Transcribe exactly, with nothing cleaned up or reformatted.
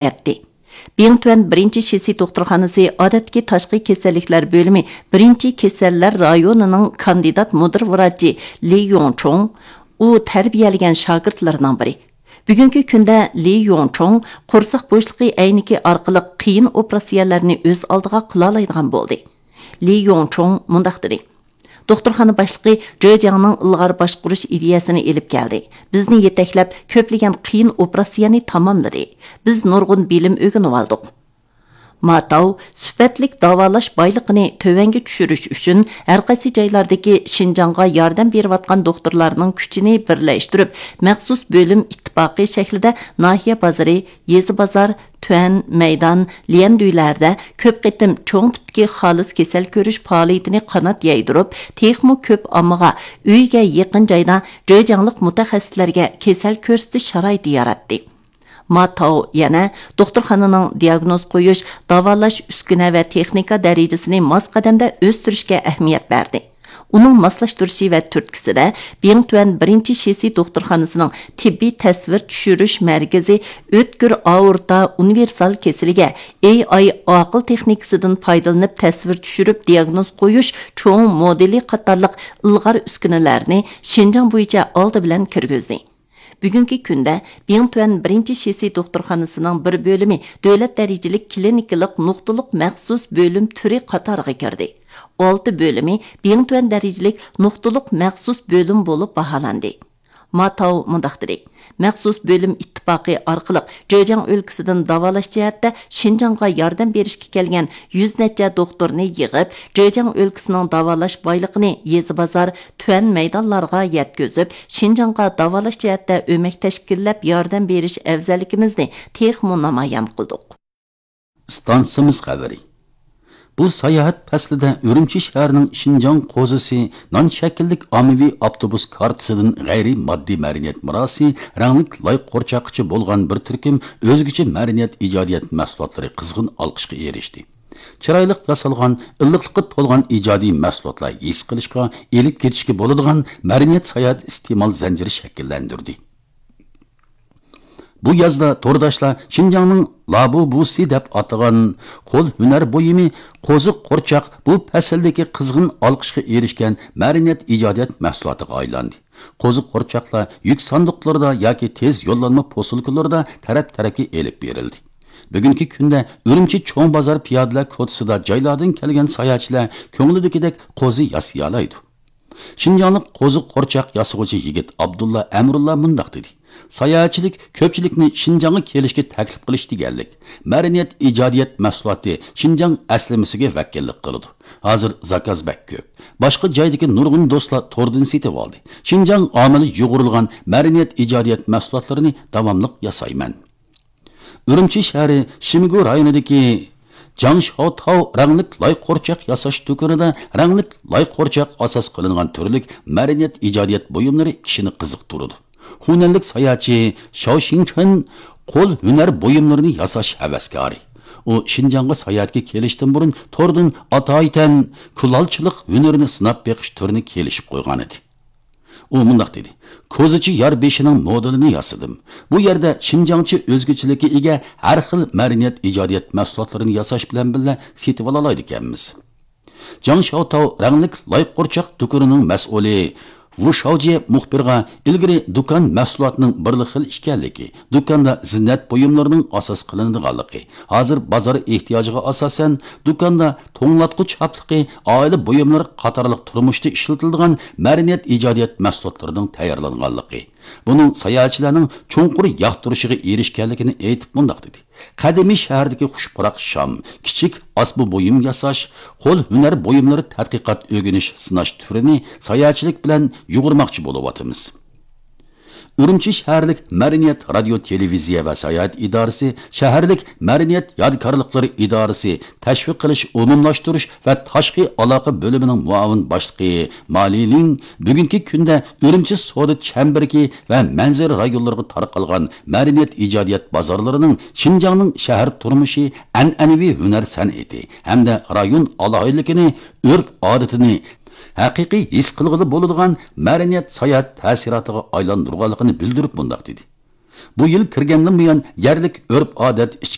ئەتتى. بىڭتۈەن بىرىنچى شىسى دوختۇرخانىسى ئادەتتىكى تاشقى كېسەللىكلەر بۆلۈمى بىرىنچى كېسەللەر رايونىنىڭ كاندىدات مۇدىر ۋراچى لى يوڭچۇڭ، ئۇ تەربىيەلىگەن شاگىرتلىرىنىڭ بىرى. بۈگۈنكى كۈندە لى يوڭچۇڭ قورساق بوشلۇقى ئەينىكى ئارقىلىق قىيىن ئوپېراتسىيەلەرنى ئۆز ئالدىغا قىلالايدىغان بولدى. لى يوڭچۇڭ مۇنداق دېدى: دوختۇرخانا باشلىقى جېجياڭنىڭ ئىلغار باشقۇرۇش ئىدىيەسىنى ئېلىپ كەلدى. بىزنى يېتەكلەپ، كۆپلىگەن قىيىن ئوپېراتسىيەنى تاماملىدى. بىز نۇرغۇن بىلىم ئۆگىنىۋالدۇق. ما تاۋ سۈپەتلىك داۋالاش بايلىقىنى تۆۋەنگە چۈشۈرۈش ئۈچۈن، ھەرقايسى جايلاردىكى شىنجاڭغا ياردەم بېرىۋاتقان دوختۇرلارنىڭ كۈچىنى بىرلەشتۈرۈپ، مەخسۇس بۆلۈم ئىتتىپاقى شەكلىدە ناھىيە بازىرى، يېزا بازار، تۈەن، مەيدان، ليەندۈيلەردە كۆپ قېتىم چوڭ تىپتىكى خالىس كېسەل كۆرۈش پائالىيىتىنى قانات يايدۇرۇپ، تېخىمۇ كۆپ ئاممىغا ئۆيىگە يېقىن جايدا جېجياڭلىق مۇتەخەسسىسلەرگە كېسەل كۆرسىتىش شارائىتى ياراتتى. ما تاۋ يەنە دوختۇرخانىنىڭ دىياگنوز قويۇش، داۋالاش ئۈسكۈنە ۋە تېخنىكا دەرىجىسىنى ماس قەدەمدە ئۆستۈرۈشكە ئەھمىيەت بەردى. ئۇنىڭ ماسلاشتۇرۇشى ۋە تۈرتكىسىدە، بىڭتۈەن بىرىنچى شىسى دوختۇرخانىسىنىڭ تېببىي تەسۋىر چۈشۈرۈش مەركىزى ئۆتكۈر ئاورتا ئۇنىۋېرسال كېسىلىگە ئېي ئاي ئاقىل تېخنىكىسىدىن پايدىلىنىپ تەسۋىر چۈشۈرۈپ دىياگنوز قويۇش چوڭ مودېلى قاتارلىق ئىلغار ئۈسكۈنىلەرنى شىنجاڭ بويىچە ئالدى بىلەن كىرگۈزدى. بۈگۈنكى كۈندە بىڭتۈەن بىرىنچى شىسى دوختۇرخانىسىنىڭ بىر بۆلۈمى دۆلەت دەرىجىلىك كلىنىكىلىق نۇقتىلىق مەخسۇس بۆلۈم تۈرى قاتارىغا كىردى. ئالتە بۆلۈمى بىڭتۈەن دەرىجىلىك نۇقتىلىق مەخسۇس بۆلۈم بولۇپ باھالاندى. ما تاۋ مۇنداق دېدى: مەخسۇس بۆلۈم ئىتتىپاقى ئارقىلىق جېجياڭ ئۆلكىسىدىن داۋالاش جەھەتتە شىنجاڭغا ياردەم بېرىشكە كەلگەن يۈز نەچچە دوختۇرنى يىغىپ، جېجياڭ ئۆلكىسىنىڭ داۋالاش بايلىقىنى يېزا بازار، تۈەن مەيدانلارغا يەتكۈزۈپ، شىنجاڭغا داۋالاش جەھەتتە ئۆمەك تەشكىللەپ ياردەم بېرىش ئەۋزەللىكىمىزنى تېخىمۇ نامايان قىلدۇق. ئىستانسىمىز خەۋىرى. بۇ ساياھەت پەسلىدە ئۈرۈمچى شەھىرىنىڭ شىنجاڭ قوزىسى نان شەكىللىك ئاممىۋى ئاپتوبۇس كارتىسىدىن غەيرىي ماددىي مەدەنىيەت مىراسى، رەڭلىك لاي قورچاققىچە بولغان بىر تۈركۈم ئۆزگىچە مەدەنىيەت ئىجادىيەت مەھسۇلاتلىرى قىزغىن ئالقىشقا ئېرىشتى. چىرايلىق ياسالغان، ئىللىقلىققا تولغان ئىجادىي مەھسۇلاتلار ھېس قىلىشقا، ئېلىپ كېتىشكە بولىدىغان مەدەنىيەت ساياھەت ئىستېمال زەنجىرى شەكىللەندۈردى. بۇ يازدا تورداشلار شىنجاڭنىڭ لابۇبۇسى دەپ ئاتىغان قول ھۈنەر بۇيۇمى قوزۇق قورچاق بۇ پەسىلدىكى قىزغىن ئالقىشقا ئېرىشكەن مەدەنىيەت ئىجادىيەت مەھسۇلاتىغا ئايلاندى. قوزۇق قورچاقلار يۈك ساندۇقلىرىدا ياكى تېز يوللانما پوسۇلكىلىرىدا تەرەپ-تەرەپكە ئېلىپ بېرىلدى. بۈگۈنكى كۈندە ئۈرۈمچى چوڭ بازار پىيادىلەر كوچىسىدا جايلاردىن كەلگەن ساياھەتچىلەر كۆڭلىدىكىدەك قوزا ياسىيالايدۇ. شىنجاڭلىق قوزۇق قورچاق ياسىغۇچى يىگىت ئابدۇللا ئەمرۇللا مۇنداق دېدى: ساياھەتچىلىك كۆپچىلىكنى شىنجاڭغا كېلىشكە تەكلىپ قىلىش دېگەنلىك، مەدەنىيەت ئىجادىيەت مەھسۇلاتى شىنجاڭ ئەسلىمىسىگە ۋەكىللىك قىلىدۇ. ھازىر زاكاز بەك كۆپ. باشقا جايدىكى نۇرغۇن دوستلار توردىن سېتىۋالدى. شىنجاڭ ئامىلى يۇغۇرۇلغان مەدەنىيەت ئىجادىيەت مەھسۇلاتلىرىنى داۋاملىق ياسايمەن. ئۈرۈمچى شەھىرى شىمگۇ رايونىدىكى جاڭشياۋتاۋ رەڭلىك لاي قورچاق ياساش دۇكىنىدا رەڭلىك لاي قورچاق ئاساس قىلىنغان تۈرلۈك مەدەنىيەت ئىجادىيەت بۇيۇملىرى كىشىنى قىزىقتۇرىدۇ. خۇنەنلىك ساياھەتچى شاۋ شىڭچېن قول ھۈنەر بۇيۇملىرىنى ياساش ھەۋەسكارى. ئۇ شىنجاڭغا ساياھەتكە كېلىشتىن بۇرۇن توردىن ئاتايىتەن كۇلالچىلىق ھۈنىرىنى سىناپ بېقىش تۈرىنى كېلىشىپ قويغانىدى. ئۇ مۇنداق دېدى: كوزىچى يار بېشىنىڭ مودېلىنى ياسىدىم. بۇ يەردە شىنجاڭچە ئۆزگىچىلىككە ئىگە ھەر خىل مەدەنىيەت ئىجادىيەت مەھسۇلاتلىرىنى ياساش بىلەن بىللە سېتىۋالالايدىكەنمىز. جاڭ شياۋتاۋ رەڭلىك لاي قورچاق دۇكىنىنىڭ مەسئۇلى ۋۇ شاۋجيې مۇخبىرغا ئىلگىرى دۇكان مەھسۇلاتىنىڭ بىرلا خىل ئىكەنلىكى، دۇكاندا زىننەت بۇيۇملىرىنىڭ ئاساس قىلىنىدىغانلىقى، ھازىر بازار ئېھتىياجىغا ئاساسەن دۇكاندا توڭلاتقۇچ چاپلىقى، ئائىلە بۇيۇملىرى قاتارلىق تۇرمۇشتا ئىشلىتىلىدىغان مەدەنىيەت ئىجادىيەت مەھسۇلاتلىرىنىڭ تەييارلانغانلىقى، بۇنىڭ ساياھەتچىلەرنىڭ چوڭقۇر ياقتۇرۇشىغا ئېرىشكەنلىكىنى ئېيتىپ مۇنداق دېدى: قەدىمىي شەھەردىكى خۇش پۇراق شام، كىچىك ئاسما بۇيۇم ياساش، قول ھۈنەر بۇيۇملىرى تەتقىقات ئۆگىنىش سىناش تۈرىنى ساياھەتچىلىك بىلەن يۇغۇرماقچى بولۇۋاتىمىز. ئۈرۈمچى شەھەرلىك مەدەنىيەت، رادىيو، تېلېۋىزىيە ۋە ساياھەت ئىدارىسى، شەھەرلىك مەدەنىيەت يادىكارلىقلىرى ئىدارىسى، تەشۋىق قىلىش، ئومۇملاشتۇرۇش ۋە تاشقى ئالاقە بۆلۈمىنىڭ مۇئاۋىن باشلىقى ما لىلىڭ بۈگۈنكى كۈندە ئۈرۈمچى سودا چەمبىرىكى ۋە مەنزىرە رايونلىرىغا تارقالغان مەدەنىيەت ئىجادىيەت بازارلىرىنىڭ شىنجاڭنىڭ شەھەر تۇرمۇشى، ئەنئەنىۋى ھۈنەر سەنئىتى ھەمدە رايون ئالاھىدىلىكىنى، ئۆرپ-ئادىتىنى ھەقىقىي ھېس قىلغىلى بولىدىغان مەدەنىيەت ساياھەت تەسىراتىغا ئايلاندۇرغانلىقىنى بىلدۈرۈپ مۇنداق دېدى: بۇ يىل كىرگەندىن بۇيان يەرلىك ئۆرپ-ئادەت، ئىچكى